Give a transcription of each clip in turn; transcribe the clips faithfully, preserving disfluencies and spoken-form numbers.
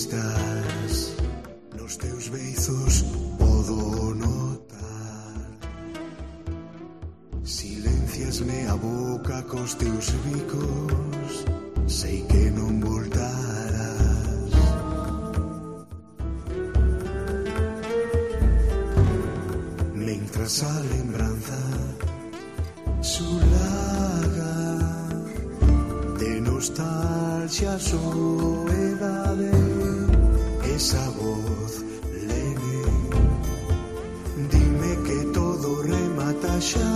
estás, nos teus beizos podo notar. Silenciasme a boca cos teus bicos, sei que non voltarás. Mentras a lembranza sulaga de nostalgia, soedade, esa voz lene, dime que todo remata xa.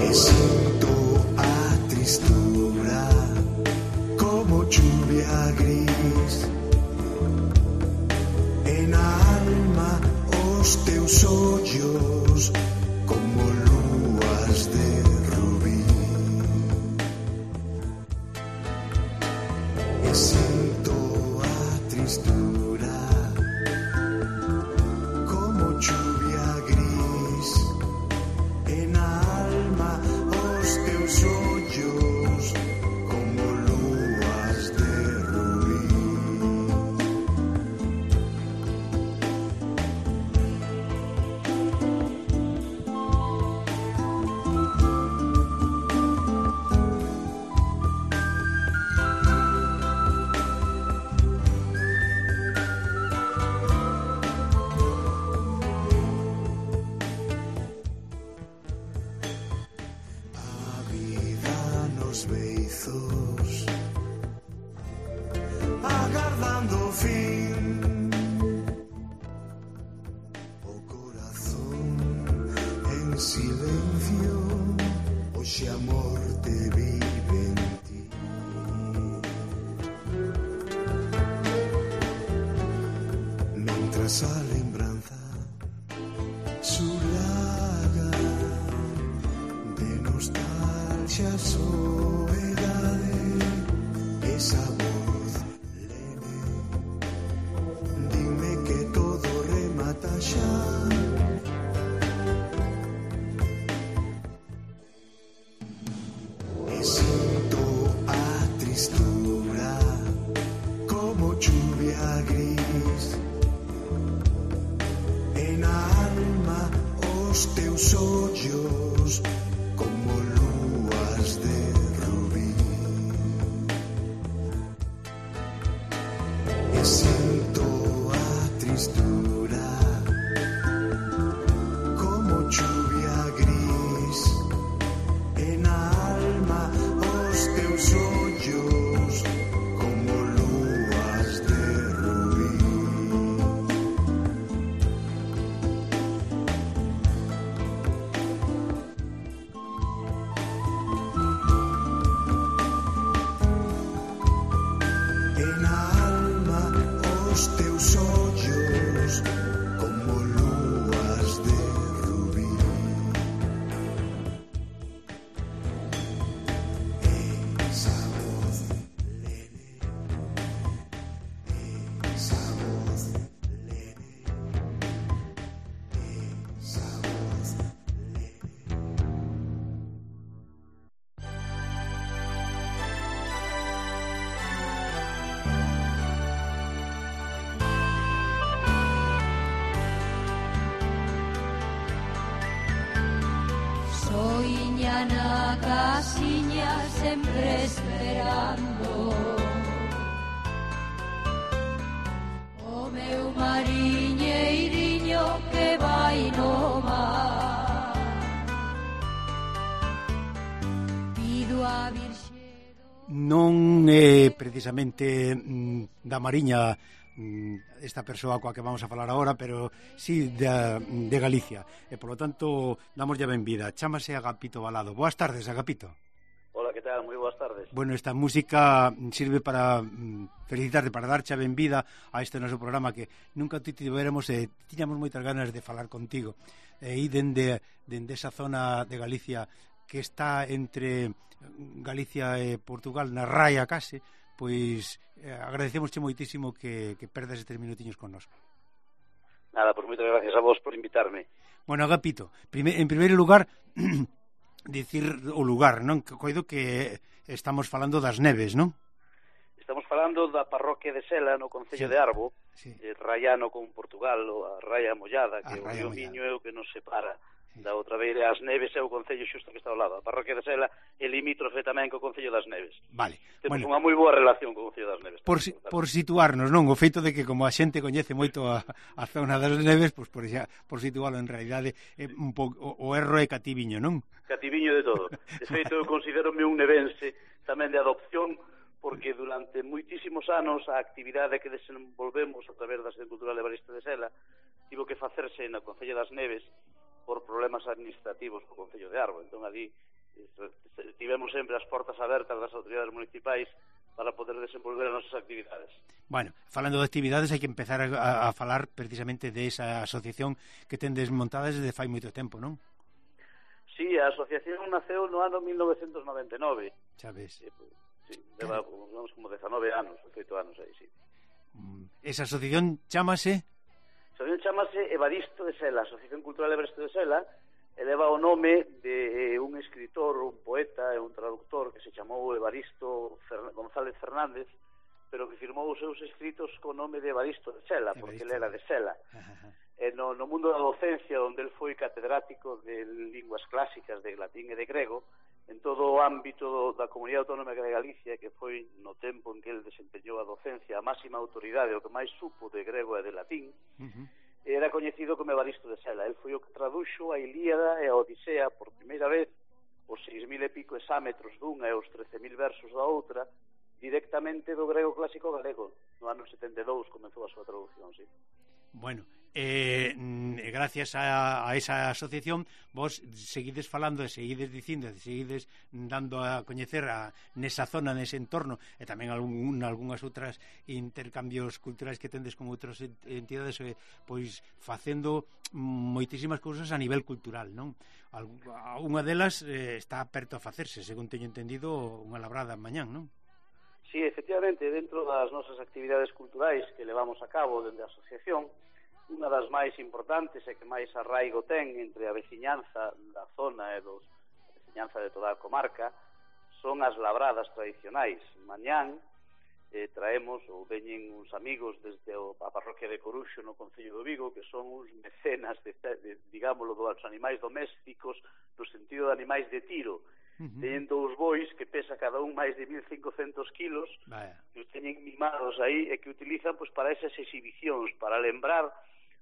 E sinto a tristura como chuvia gris, en alma os teus ollos como lúas de rubí. E sinto a tristura como chuvia gris, en alma os teus ollos como lúas de rubí. Beizos, agardando o fin, o corazón en silencio, hoxe a morte vive en ti. Mentras a lembranza sulaga de nostalgia, soedade, esa voz lene, dime que todo remata xa. E sinto a tristura como chuvia gris, en alma os teus ollos como lúas de rubí. E sinto a tristura como chuvia gris, en alma os teus ollos como lúas de rubí. En alma os teus ollos como lúas de rubí. Esa voz lene, esa voz lene, esa voz lene. Soiña na casiña sempre esperando o meu mariñeiriño que vai no mar. Pido a Virxe do... Non é precisamente mm, da Mariña mm, esta persoa coa que vamos a falar agora, pero sí de, de Galicia, e polo tanto damos ya benvida. Chámase Agapito Balado. Boas tardes, Agapito. Hola, que tal? Moi boas tardes. Bueno, esta música sirve para mm, felicitarte, para darche a benvida a este noso programa que nunca te tiveremos e eh, tiñamos moitas ganas de falar contigo. E aí dende, dende esa zona de Galicia que está entre Galicia e Portugal, na raia case, pois eh, agradecemosche moitísimo que, que perdas estes minutiños connosco. Nada, pois moitas gracias a vos por invitarme. Bueno, Agapito, prime, en primeiro lugar dicir o lugar, non? Que coido que estamos falando das Neves, non? Estamos falando da parroquia de Sela, no concello Sí. de Arbo, Sí. eh, raiano con Portugal, ou a Raia Mollada, que A o Raia río Mollada. Miño é o que nos separa Sí. da outra beira. As Neves é o concello xusto que está ao lado. A parroquia de Sela é limítrofe tamén co concello das Neves. Vale. Temos Bueno, unha moi boa relación co concello das Neves. por, si, por situarnos, non? O feito de que como a xente coñece moito a, a zona das Neves, pois por, xa, por situarlo en realidade é un pouco, o, o erro é cativiño, non? Cativiño de todo. De feito, eu considero-me un nevense tamén de adopción, porque durante moitísimos anos a actividade que desenvolvemos a través da Asociación Cultural Evaristo de Sela tivo que facerse na Concello das Neves por problemas administrativos co Concello de Arbo. Entón, ali tivemos sempre as portas abertas das autoridades municipais para poder desenvolver as nosas actividades. Bueno, falando de actividades, hai que empezar a, a falar precisamente de esa asociación que tendes montada desde fai moito tempo, non? Sí, a asociación naceu no ano mil novecentos noventa e nove. Xa ves. Sí, sí, leva vamos, como dezanove anos, oito anos aí, sí. Esa asociación chámase... A asociación chamase Evaristo de Sela, Asociación Cultural Evaristo de Sela, e leva o nome de un escritor, un poeta e un traductor que se chamou Evaristo Fer... González Fernández, pero que firmou os seus escritos co nome de Evaristo de Sela, Evaristo. Porque ele era de Sela. E no, no mundo da docencia, onde el foi catedrático de linguas clásicas de latín e de grego, en todo o ámbito do, da Comunidade Autónoma de Galicia, que foi no tempo en que el desempeñou a docencia a máxima autoridade, o que máis supo de grego e de latín, uh-huh. Era coñecido como Evaristo de Sela. El foi o que traduxo a Ilíada e a Odisea por primeira vez, os seis mil e pico exámetros dunha e os trece mil versos da outra, directamente do grego clásico galego. No ano setenta e dous comezou a súa traducción, sí. Bueno, eh, gracias a, a esa asociación vos seguides falando e seguides dicindo e seguides dando a coñecer a, nesa zona, nese entorno e tamén algún, algunhas outras intercambios culturais que tendes con outras entidades, eh, pois facendo moitísimas cousas a nivel cultural, non? Unha delas eh, está perto a facerse, según teño entendido, unha labrada mañán, non? Sí, efectivamente, dentro das nosas actividades culturais que levamos a cabo dende a asociación, unha das máis importantes e que máis arraigo ten entre a veciñanza da zona e dos, a veciñanza de toda a comarca son as labradas tradicionais. Mañán eh, traemos ou veñen uns amigos desde o, a parroquia de Coruxo no concello do Vigo, que son uns mecenas de, de, digámoslo, dos animais domésticos no sentido de animais de tiro. Uh-huh. Teñen dous bois que pesa cada un máis de mil cincocentos kilos. Vaya. Que os teñen mimados aí e que utilizan pois, para esas exhibicións, para lembrar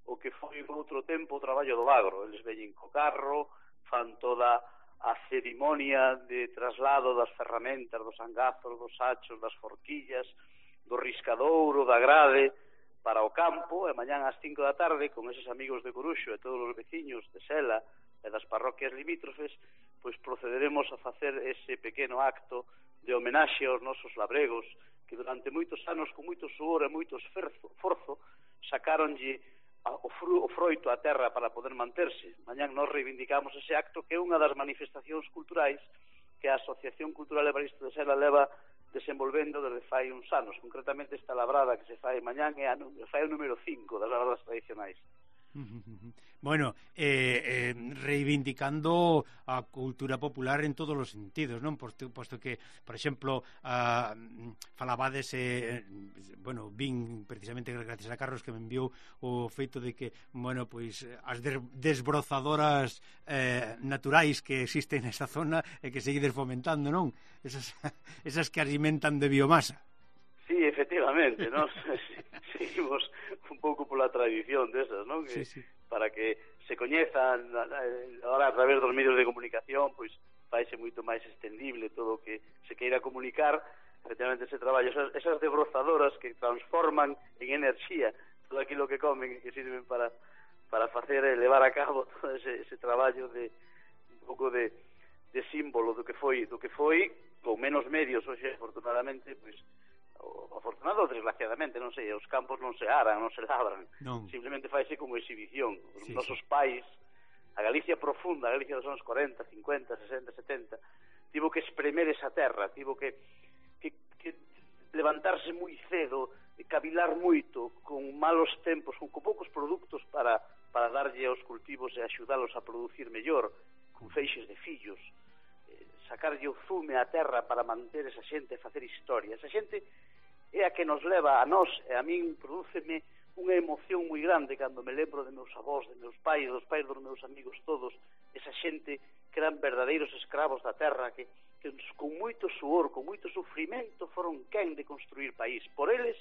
o que foi en outro tempo o traballo do agro. Eles veñen co carro, fan toda a cerimonia de traslado das ferramentas, dos angazos, dos sachos, das forquillas, do riscadouro, da grade para o campo, e mañán ás cinco da tarde con eses amigos de Coruxo e todos os veciños de Sela e das parroquias limítrofes, pois procederemos a facer ese pequeno acto de homenaxe aos nosos labregos que durante moitos anos, con moito suor e moito esforzo, sacaronlle o, fru, o froito á terra para poder manterse. Mañán nos reivindicamos ese acto que é unha das manifestacións culturais que a Asociación Cultural Evaristo de Sela leva desenvolvendo desde fai uns anos. Concretamente esta labrada que se fai mañán é a, fai o número cinco das labradas tradicionais. Bueno, eh, eh, reivindicando a cultura popular en todos os sentidos, non? Posto, posto que, por exemplo, uh, falabades, eh, bueno, vin precisamente gracias a Carlos que me enviou o feito de que, bueno, pois as desbrozadoras eh, naturais que existen nesta zona e que seguides fomentando, non? Esas, esas que alimentan de biomasa. Sí, efectivamente, ¿no? Seguimos un pouco pola tradición desas, ¿no? Que, sí, sí. Para que se coñezan ahora a través dos medios de comunicación, pois faise moito máis extendible todo o que se queira comunicar, efectivamente ese traballo, esas, esas desbrozadoras que transforman en enerxía todo aquilo que comen e que sirven para para facer e levar a cabo todo ese, ese traballo de un pouco de, de símbolo do que foi, do que foi con menos medios, hoxe, afortunadamente, pois afortunado ou desgraciadamente, non sei, os campos non se aran, non se labran, non. Simplemente faise como exhibición. Os sí, nosos sí. pais, a Galicia profunda, a Galicia dos anos corenta, cincuenta, sesenta, setenta, tivo que espremer esa terra, tivo que, que, que levantarse moi cedo, cavilar moito, con malos tempos, con, con poucos produtos para, para darlle aos cultivos e axudalos a producir mellor, con feixes de fillos, sacarlle o zume á terra para manter esa xente e facer historia. Esa xente é a que nos leva a nós, e a min prodúceme unha emoción moi grande cando me lembro de meus avós, de meus pais, dos pais dos meus amigos todos, esa xente que eran verdadeiros escravos da terra, que, que con moito suor, con moito sufrimento foron quen de construir país. Por eles,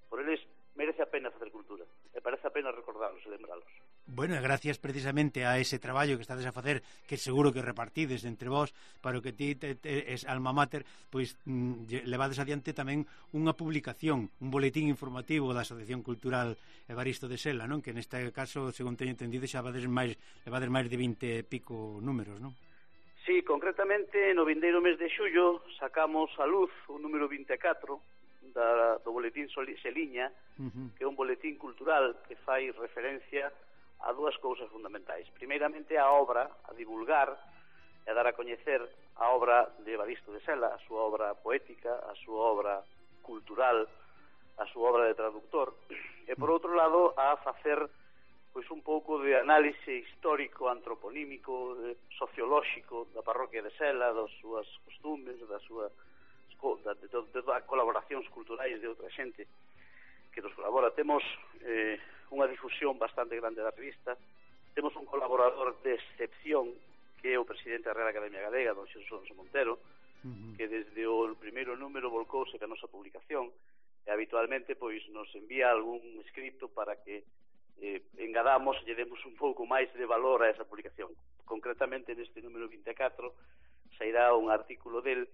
por eles merece a pena facer cultura, e parece a pena recordarlos e lembralos. Bueno, e gracias precisamente a ese traballo que estades a facer, que seguro que repartides entre vós, para que ti te, te, es alma mater, pois mm, levades adiante tamén unha publicación, un boletín informativo da Asociación Cultural Evaristo de Sela, non? Que neste caso, según teño entendido, xa vades máis, levades máis de vinte e pico números, non? Sí, concretamente no vindeiro mes de xullo sacamos a luz o número vinte e catro da, do boletín Seliña, uh-huh. que é un boletín cultural que fai referencia a dúas cousas fundamentais. Primeiramente a obra, a divulgar e a dar a coñecer a obra de Evaristo de Sela, a súa obra poética, a súa obra cultural, a súa obra de traductor, e por outro lado a facer pois un pouco de análise histórico, antroponímico, sociolóxico da parroquia de Sela, das súas costumes, das súas de, de, de, de colaboracións culturais de outra xente que nos colabora. Temos eh, unha difusión bastante grande da revista, temos un colaborador de excepción que é o presidente da Real Academia Galega, don Xesús Alonso Montero, uh-huh. que desde o primeiro número volcouse ca nosa publicación e habitualmente pois nos envía algún escrito para que eh, engadamos e lle demos un pouco máis de valor a esa publicación. Concretamente neste número vinte e catro sairá un artículo del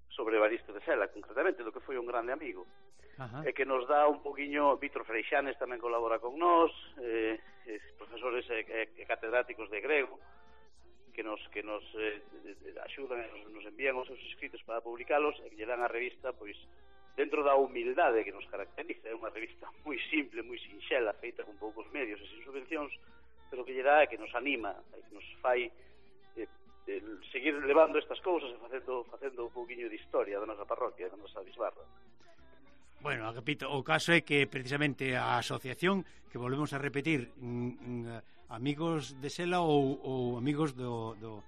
sobre Evaristo de Sela, concretamente do que foi un grande amigo. Ajá. E que nos dá un poquinho, Víctor Freixanes tamén colabora con nós, eh, eh, profesores e eh, eh, catedráticos de grego que nos que nos eh, axudan e nos, nos envían os seus escritos para publicalos e que lle dan a revista pois dentro da humildade que nos caracteriza. É unha revista moi simple, moi sinxela, feita con poucos medios e sin subvencións, pero que lle dá e que nos anima e que nos fai eh, el seguir levando estas cousas e facendo, facendo un pouquiño de historia da nosa parroquia, da nosa bisbarra. Bueno, repito, o caso é que precisamente a asociación, que volvemos a repetir, mm, mm, amigos de Sela ou, ou amigos do, do,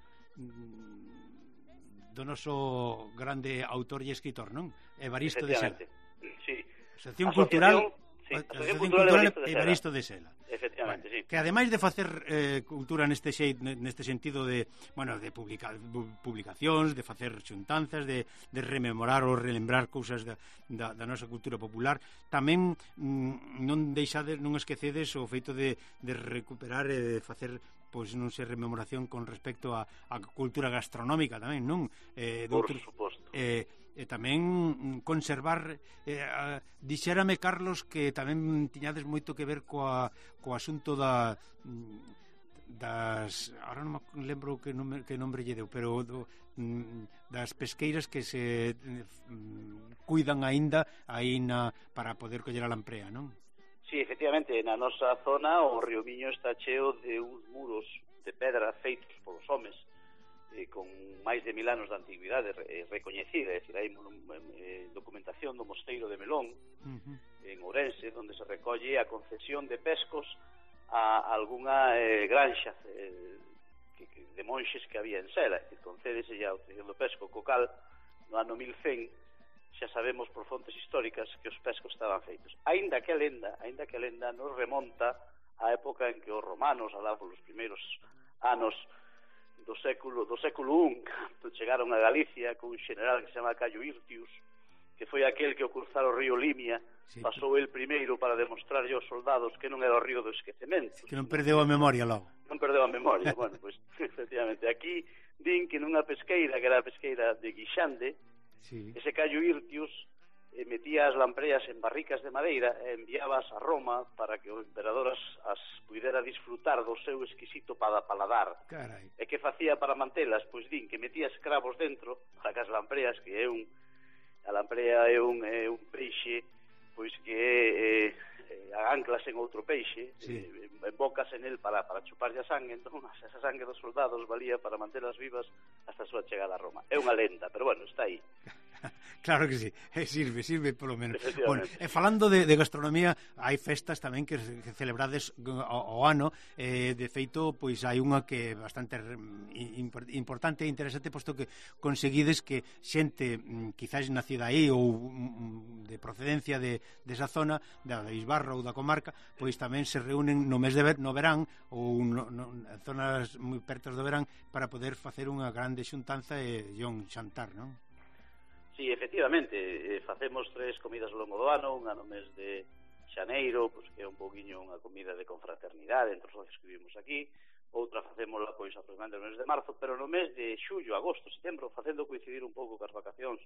do noso grande autor e escritor, non? Evaristo de Sela. Sí. Asociación Cultural... Sí, Asociación Cultural Evaristo de Sela. Efectivamente, bueno, sí. Que ademais de facer eh, cultura neste xeit, neste sentido de, bueno, de publica, publicacións, de facer xuntanzas, de, de rememorar ou relembrar cousas da, da, da nosa cultura popular, tamén mm, non deixades, non esquecedes o feito de, de recuperar e de facer pois non sei, rememoración con respecto a, a cultura gastronómica tamén, non? Eh, Por outros, suposto. Eh, e tamén conservar eh, a, dixérame Carlos que tamén tiñades moito que ver coa, co asunto da das ahora non me lembro que nome, que nombre lle deu, pero do, das pesqueiras que se mm, cuidan aínda aí na, para poder coller a lamprea, non? Sí, efectivamente, na nosa zona o río Miño está cheo de uns muros de pedra feitos polos homes eh, con máis de mil anos de antigüidade eh, recoñecida, é dicir, hai eh, documentación do mosteiro de Melón, uh-huh. en Ourense, onde se recolle a concesión de pescos a algunha eh, granxa eh, que, que, de monxes que había en Sela, que concédese a autorización do pesco, co cal no ano mil cen xa sabemos por fontes históricas que os pescos estaban feitos. Aínda que a lenda, aínda que a lenda nos remonta á época en que os romanos, alá polos primeiros anos do século do século un, cando chegaron a Galicia con un general que se chama Cayo Hirtius, que foi aquel que ao cruzar o río Limia sí. pasou el primeiro para demostrarlle aos soldados que non era o río do esquecemento. Que non perdeu a memoria logo. Non perdeu a memoria. Bueno, pois, pues, efectivamente, aquí din que nunha pesqueira, que era a pesqueira de Guixande, sí. ese Cayo Hirtius eh, metía as lampreas en barricas de madeira e enviabas a Roma para que o emperador as, as pudera disfrutar do seu exquisito pada paladar. Carai. E que facía para mantelas? Pois din que metía escravos dentro para que as lampreas, que é un a lamprea é un, é un peixe pois que é, é, anclas en outro peixe, sí. eh, embocas en el para, para chuparlle a sangue, entón esa sangue dos soldados valía para mantelas vivas hasta a súa chegada a Roma. É unha lenda, pero bueno, está aí. Claro que sí, eh, sirve, sirve polo menos. Bueno, e falando de, de gastronomía, hai festas tamén que, que celebrades ao, ao ano, eh, de feito, pois hai unha que é bastante impor, importante e interesante, posto que conseguides que xente, quizás nacida aí ou de procedencia de, de esa zona, da Bisbarra ou da comarca, pois tamén se reúnen no mes de ver, no verán ou no, no, en zonas moi pertas do verán para poder facer unha grande xuntanza e, e un xantar, non? Sí, efectivamente, eh, facemos tres comidas ao longo do ano, unha no mes de xaneiro, pois, que é un pouquiño unha comida de confraternidade entre os socios que vivimos aquí, outra facémola pois aproximadamente no mes de marzo, pero no mes de xullo, agosto, setembro, facendo coincidir un pouco cas vacacións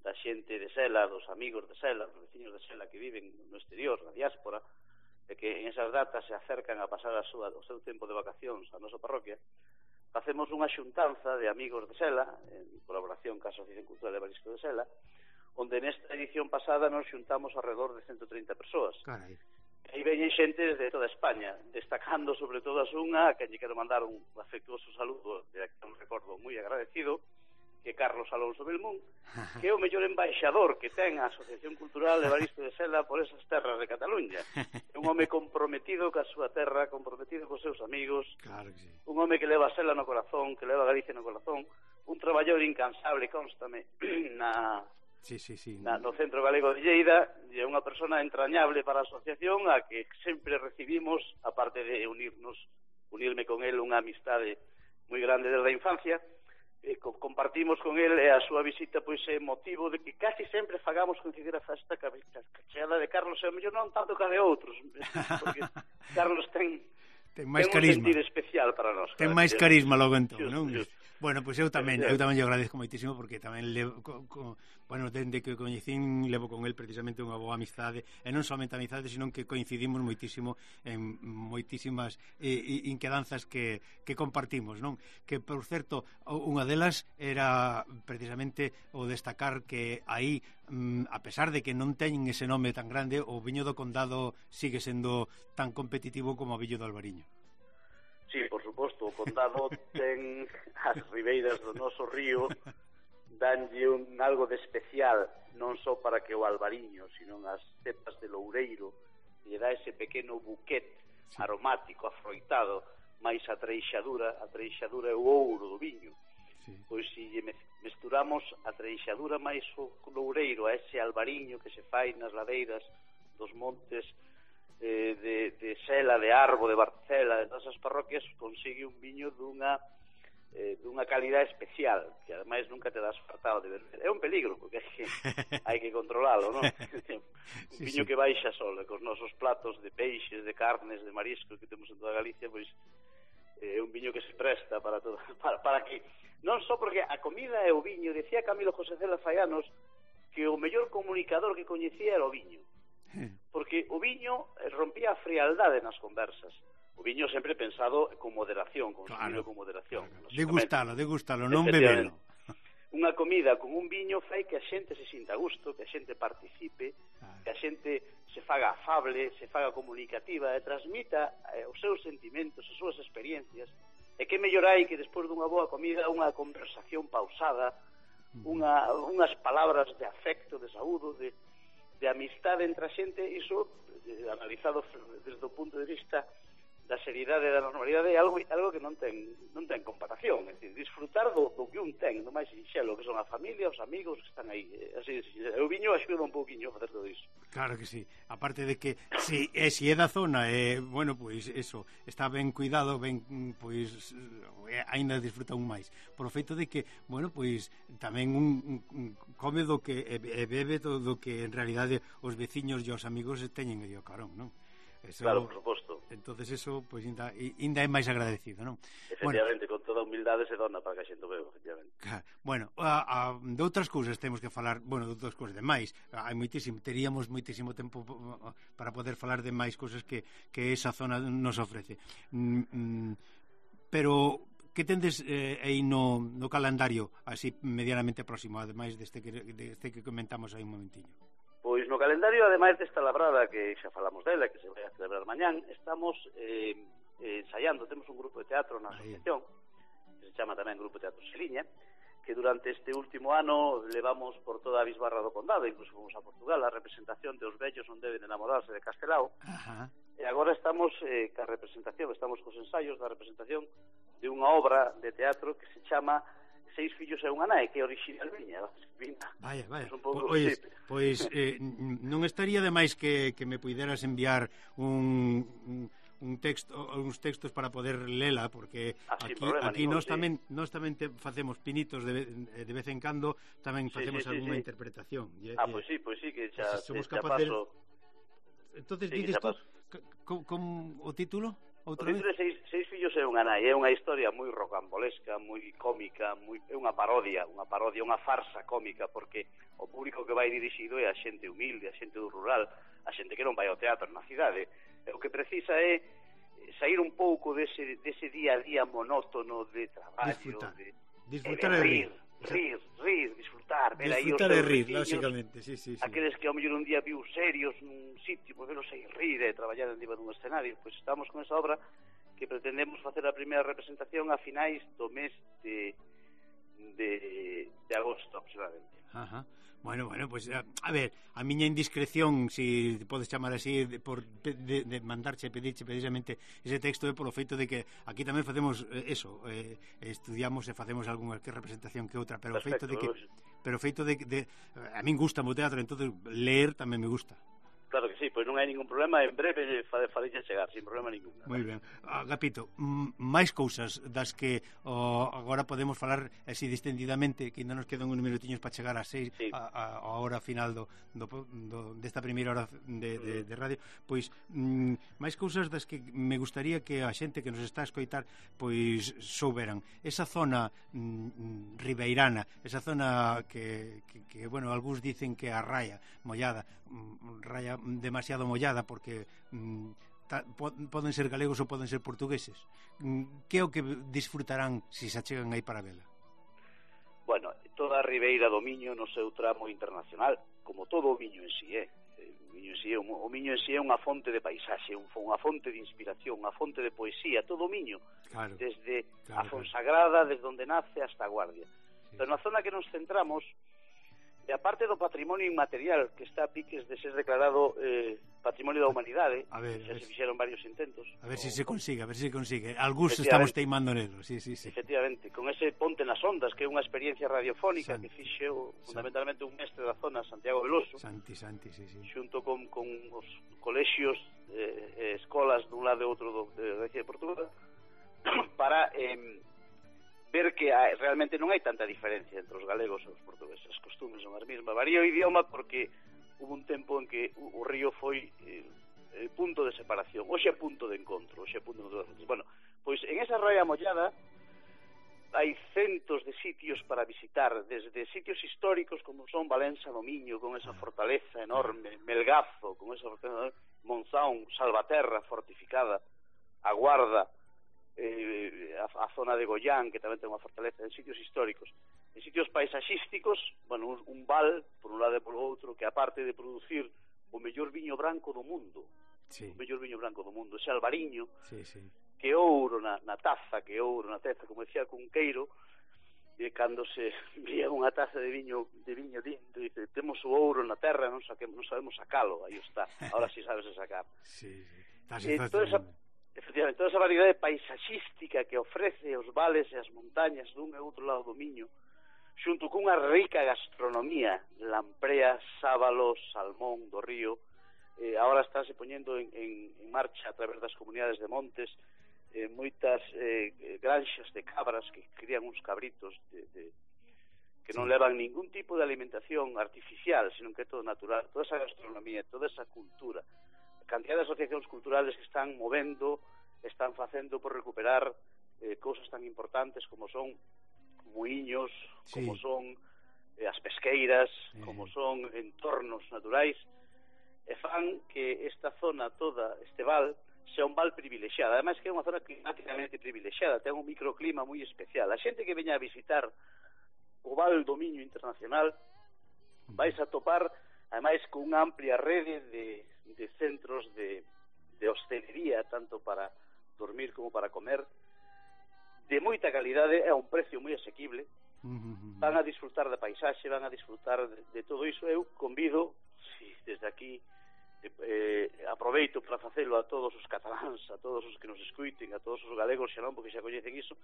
da xente de Sela, dos amigos de Sela, dos veciños de Sela que viven no exterior, na diáspora, e que en esas datas se acercan a pasar a súa, o seu tempo de vacacións á nosa parroquia. Facemos unha xuntanza de amigos de Sela, en colaboración ca Asociación Cultural de Barisco de Sela, onde nesta edición pasada nos xuntamos alrededor de ciento trinta persoas. Carai. E aí veñen xente de toda España, destacando sobre todo as unha, a quen lle quero mandar un afectuoso saludo, de que un recordo moi agradecido, que é Carlos Alonso Belmún, que é o mellor embaixador que ten a Asociación Cultural de Barisco de Sela por esas terras de Cataluña. É un home comprometido ca súa terra, comprometido cos seus amigos, claro que sí. Un home que leva a Sela no corazón, que leva a Galicia no corazón, un traballador incansable, constame, na, sí, sí, sí. na, no Centro Galego de Lleida, e é unha persona entrañable para a asociación, a que sempre recibimos, aparte de unirnos, unirme con él unha amistade moi grande desde a infancia, e co compartimos con el, e a súa visita pois é motivo de que casi sempre fagamos coincidir a festa ca cheada de Carlos, e o mellor non tanto ca de outros, porque Carlos ten ten máis ten carisma, un sentir especial para nós. ten máis carisma logo entón, just, non? Just. Bueno, pois pues eu tamén, eu tamén lle agradezco moitísimo porque tamén levo, co, co, bueno, dende que coñecín levo con el precisamente unha boa amizade, e non somente amizade, sino que coincidimos moitísimo en moitísimas eh, inquedanzas que, que compartimos, non? Que, por certo, unha delas era precisamente o destacar que aí, a pesar de que non teñen ese nome tan grande, o viño do Condado sigue sendo tan competitivo como o viño do Albariño. Sí, por suposto, o Condado ten as ribeiras do noso río, danlle un algo de especial, non só para que o Albariño, sino as cepas de Loureiro, lle dá ese pequeno buquet sí. aromático, afroitado, máis a treixadura, a treixadura é o ouro do viño. Sí. Pois se lle mesturamos a treixadura máis o Loureiro a ese Albariño que se fai nas ladeiras dos montes Eh, de, de Sela, de Arbo, de Barcela, de todas as parroquias, consigue un viño dunha eh, dunha calidade especial, que ademais nunca te das fartado de beber. É un peligro, porque hai que, hai que controlalo, non? Un sí, viño sí. que baixa solo, cos nosos platos de peixes, de carnes, de marisco que temos en toda Galicia, pois é eh, un viño que se presta para todo, para, para que, non só porque a comida é o viño, decía Camilo José Cela fai anos que o mellor comunicador que coñecía era o viño. Porque o viño rompía a frialdade nas conversas. O viño sempre pensado con moderación, consumido claro, con moderación. Claro. Degustalo, degustalo, non bebelo. Unha comida con un viño fai que a xente se sinta a gusto, que a xente participe, claro. Que a xente se faga afable, se faga comunicativa e transmita eh, os seus sentimentos, as súas experiencias. E que mellor hai que despois dunha boa comida unha conversación pausada, unha, unhas palabras de afecto, de saúdo, de de amistade entre a xente, iso, eh, analizado desde o punto de vista da seriedade e da normalidade, é algo, algo que non ten non ten comparación, é dicir, disfrutar do, do que un ten, do máis sinxelo, que son a familia, os amigos que están aí, así, o viño axuda un pouquiño a facer todo iso. Claro que sí, aparte de que si é, si é da zona, eh, bueno, pois eso, está ben cuidado, ben, pois, eh, ainda disfruta un máis, por o feito de que, bueno, pois, tamén un, un come do que, e, e bebe todo do que en realidade os veciños e os amigos teñen aí o carón, non? Eso, claro, por suposto. Entonces eso, pois, pues, ainda, ainda é máis agradecido, non? Efectivamente, bueno, con toda humildade se dona para que a xente o beba, efectivamente. Bueno, a, a, de outras cousas temos que falar, bueno, de outras cousas, de máis, hai moitísimo, teríamos moitísimo tempo para poder falar de máis cousas que, que esa zona nos ofrece. Mm, mm, pero que tendes eh, aí no, no calendario, así medianamente próximo, ademais deste que, deste que comentamos aí un momentiño? Pois no calendario, ademais desta labrada que xa falamos dela, que se vai a celebrar mañán, estamos eh, eh, ensaiando, temos un grupo de teatro na asociación, que se chama tamén Grupo de Teatro Xeliña, que durante este último ano levamos por toda a bisbarra do condado, incluso fomos a Portugal, a representación de Os vellos non deben enamorarse de Castelao. Ajá. E agora estamos eh, ca representación, estamos cos ensaios da representación de unha obra de teatro que se chama Seis fillos e unha nai, que é original miña. Vaya, vaya. Pues un pouco, Oye, sí. pois eh, non estaría de máis que, que me puideras enviar un... un un texto, uns textos para poder lela, porque ah, aquí, problema, aquí ningún, nós sí. tamén nós tamén te facemos pinitos de, de vez en cando, tamén sí, facemos sí, sí, algunha sí. interpretación. E, Ah, e, pois pues sí, pois pues sí, que xa, somos xa capaces paso... Entonces, sí, dices tú, paso. con, con o título? O Outra vez? título é seis, seis fillos e unha nai, é unha historia moi rocambolesca, moi cómica, moi, é unha parodia, unha parodia, unha farsa cómica, porque o público que vai dirixido é a xente humilde, a xente do rural, a xente que non vai ao teatro na cidade. E o que precisa é sair un pouco dese, dese día a día monótono de traballo, disfrutar, de, disfrutar de e rir, rir, rir, rir, disfrutar, ver aí os disfrutar e seus rir, veciños, lógicamente, sí, sí, sí. aqueles que ao mellor un día viu serios nun sitio, pois velos aí rir e traballar en diva dun escenario. Pois estamos con esa obra que pretendemos facer a primeira representación a finais do mes de de, de agosto aproximadamente. Ajá. Bueno, bueno, pues a, a ver, a miña indiscreción, si podes chamar así, de, por, de, de mandarche e pedirche precisamente ese texto é polo feito de que aquí tamén facemos eh, eso, eh, estudiamos e facemos algunha que representación que outra, pero o feito de que pero o feito de, de a min gusta o teatro, entonces leer tamén me gusta. Claro que sí, pois non hai ningún problema, en breve farei chegar, sin problema ningún. Moi ben. Agapito, máis cousas das que oh, agora podemos falar así distendidamente, que ainda nos quedan uns minutiños para chegar a seis, sí. a, a, a hora final do, do, do, desta primeira hora de, de, de radio, pois mm, máis cousas das que me gustaría que a xente que nos está a escoitar pois souberan. Esa zona mm, ribeirana, esa zona que, que, que bueno, algúns dicen que a raya mollada, mm, raya demasiado mollada porque mm, ta, po, poden ser galegos ou poden ser portugueses. Mm, que é o que disfrutarán se se achegan aí para vela? Bueno, toda a ribeira do Miño no seu tramo internacional, como todo o Miño en si é. O Miño en si é, o Miño en si é unha fonte de paisaxe, unha fonte de inspiración, unha fonte de poesía, todo o Miño, claro, desde claro, a Fonsagrada, desde onde nace hasta a Guardia. Sí. Pero na zona que nos centramos, e aparte do patrimonio inmaterial que está a piques de ser declarado eh, patrimonio da humanidade, a ver, xa a ver, se fixeron varios intentos. A ver o... se se consigue, a ver se se consigue. Algúns estamos teimando nelo, sí, sí, sí. Efectivamente, con ese Ponte nas Ondas, que é unha experiencia radiofónica Santi. que fixo fundamentalmente un mestre da zona, Santiago Veloso. Santi, Santi, sí, sí. Xunto con, con os colexios, eh, escolas dun lado e outro do, de Grecia e Portugal, para... Eh, ver que hai, realmente non hai tanta diferencia entre os galegos e os portugueses, as costumes son as mesmas, varía o idioma porque hubo un tempo en que o, o río foi eh, eh, punto de separación, hoxe é punto de encontro, hoxe é punto de encontro. Bueno, pois en esa raya mollada hai centos de sitios para visitar, desde sitios históricos como son Valença do Miño, con esa fortaleza enorme, Melgazo, con esa fortaleza, Monzón, Salvaterra fortificada, a Guarda, Eh, a, a zona de Goián, que tamén ten unha fortaleza, en sitios históricos, en sitios paisaxísticos, bueno, un, un val por un lado e por outro, que aparte de producir o mellor viño branco do mundo, sí. o mellor viño branco do mundo, ese albariño, sí, sí. que ouro na, na taza, que ouro na taza, como decía Cunqueiro, e cando se vía unha taza de viño de viño tinto, dice, temos o ouro na terra, non, saquemos, non sabemos sacalo, aí está, ahora si sí sabes sacar. Sí, sí. E toda esa Efectivamente, toda esa variedade paisaxística que ofrece os vales e as montañas dun e outro lado do Miño, xunto cunha rica gastronomía, lampreas, sábalos, salmón do río, eh, agora estáse poñendo en, en, en marcha a través das comunidades de montes eh, moitas eh, granxas de cabras que crían uns cabritos de, de, que non levan ningún tipo de alimentación artificial, sino que é todo natural, toda esa gastronomía, toda esa cultura, cantidad de asociacións culturales que están movendo, están facendo por recuperar eh, cousas tan importantes como son muiños, sí. como son eh, as pesqueiras, sí. como son entornos naturais, e fan que esta zona toda, este val, sea un val privilexiada. Ademais que é unha zona climáticamente privilexiada, ten un microclima moi especial. A xente que veña a visitar o Val do Miño Internacional vais a topar, ademais, con unha amplia rede de de centros de, de hostelería, tanto para dormir como para comer, de moita calidade, a un precio moi asequible, van a disfrutar da paisaxe, van a disfrutar de, de todo iso. Eu convido, si, desde aquí eh, aproveito para facelo a todos os cataláns, a todos os que nos escuiten, a todos os galegos xa non, porque xa coñecen iso,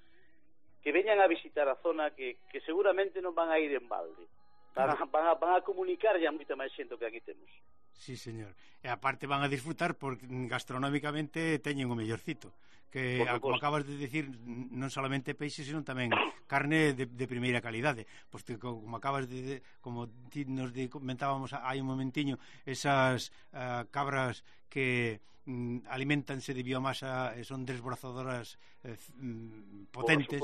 que veñan a visitar a zona, que, que seguramente non van a ir en balde, van a, van a, van a comunicar ya moita máis xente que aquí temos. Sí, señor. E aparte van a disfrutar porque gastronómicamente teñen o mellorcito, que como acabas de decir, non solamente peixe, sino tamén carne de, de primeira calidade. Pois que, como acabas de, como ti nos de, comentábamos hai un momentiño, esas uh, cabras que mm, alimentanse de biomasa e son desbrozadoras eh, mm, potentes,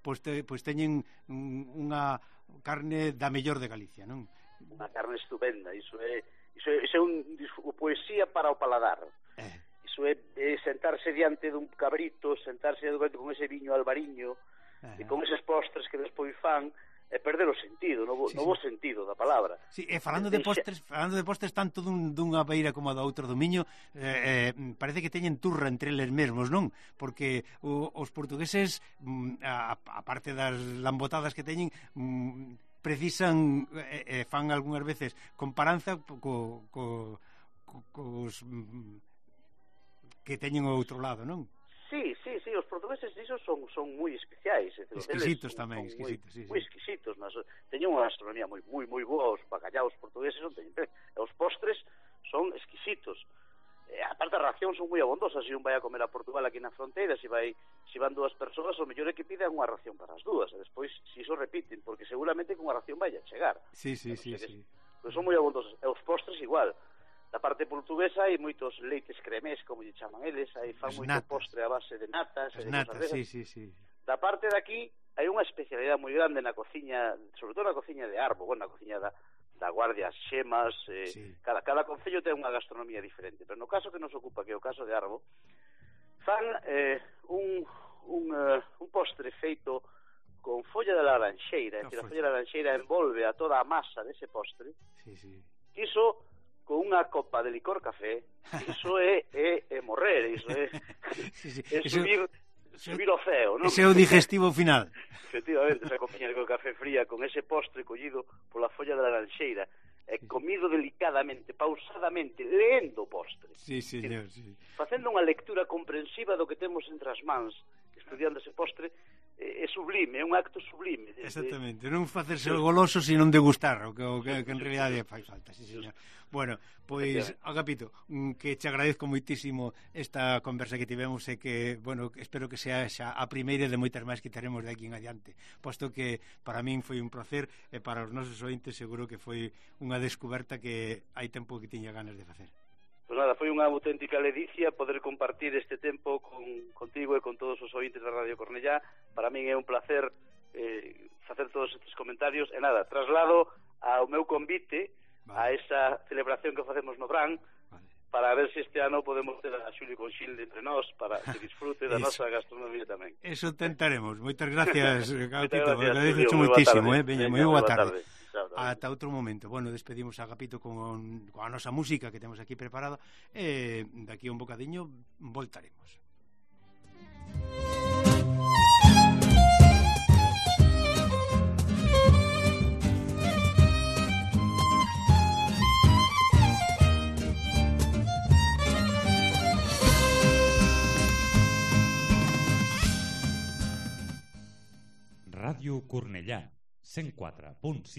pois, te, pois teñen unha carne da mellor de Galicia, non? Unha carne estupenda, iso é, iso é, iso é un, poesía para o paladar. Eh. Iso é, é sentarse diante dun cabrito, sentarse diante con ese viño albariño, uh-huh. e con eses postres que despois fan, é perder o sentido, no bo, sí, no bo sí. sentido da palabra. Sí, e falando de postres, falando de postres tanto dun, dunha beira como da outra do Miño, eh, eh, parece que teñen turra entre eles mesmos, non? Porque o, os portugueses, a, a parte das lambotadas que teñen, mm, precisan, eh, eh, fan algunhas veces comparanza co, co, co, cos... Mm, que teñen o outro lado, non? Sí, sí, sí, os portugueses diso son son moi especiais, exquisitos tamén, exquisitos, sí, moi exquisitos, mas teñen unha gastronomía moi moi moi boa, os bacallaos portugueses non teñen, os postres son exquisitos. E aparte as racións son moi abondosas, se un vai a comer a Portugal aquí na fronteira, se vai se van dúas persoas, o mellor é que pidan unha ración para as dúas, e despois se iso repiten, porque seguramente con unha ración vai a chegar. Sí, sí, sí, sí. Pois son moi abondosos, e os postres igual. Da parte portuguesa hai moitos leites cremés, como lle chaman eles, hai fan moito postre a base de natas, as natas, sí, sí, sí. Da parte de aquí hai unha especialidade moi grande na cociña, sobre todo na cociña de Arbo, bueno, na cociña da, da Guardia, as Xemas, eh, sí. cada, cada concello ten unha gastronomía diferente, pero no caso que nos ocupa, que é o caso de Arbo, fan eh, un, un, uh, un postre feito con folla de laranxeira, é dicir, a folla de laranxeira envolve a toda a masa dese postre, sí, sí. Iso con unha copa de licor café, iso é, é, é morrer, iso é, sí, sí. é subir, eso, subir o ceo, non? Ese é o digestivo final. Efectivamente, esa copiña de café fría con ese postre collido pola folla de laranxeira, e comido delicadamente, pausadamente, leendo o postre. Sí, señor, sí. Facendo unha lectura comprensiva do que temos entre as mans, estudiando ese postre, é sublime, é un acto sublime. Exactamente, non facerse o goloso, sino degustar, o que, o que, que en realidade fai falta, sí, señor. Bueno, pois, Agapito, que te agradezco moitísimo esta conversa que tivemos e que, bueno, espero que sea xa a primeira de moitas máis que teremos de aquí en adiante, posto que para min foi un placer e para os nosos ointes seguro que foi unha descoberta que hai tempo que tiña ganas de facer. Pois nada, foi unha auténtica ledicia poder compartir este tempo con, contigo e con todos os ointes da Radio Cornellá. Para min é un placer eh, facer todos estes comentarios. E nada, traslado ao meu convite vale. a esa celebración que facemos no Bran, vale. para ver se este ano podemos ter a Xulio Conxilde entre nós, para que disfrute da nosa gastronomía tamén. Eso tentaremos. Moitas gracias, Agapito. Agradezo moitísimo, eh? Veña, moi boa tarde. Ata outro momento. Bueno, despedimos a Agapito con, con a nosa música que temos aquí preparada e daqui a un bocadiño voltaremos. Radio Cornellà, cent quatre punt sis.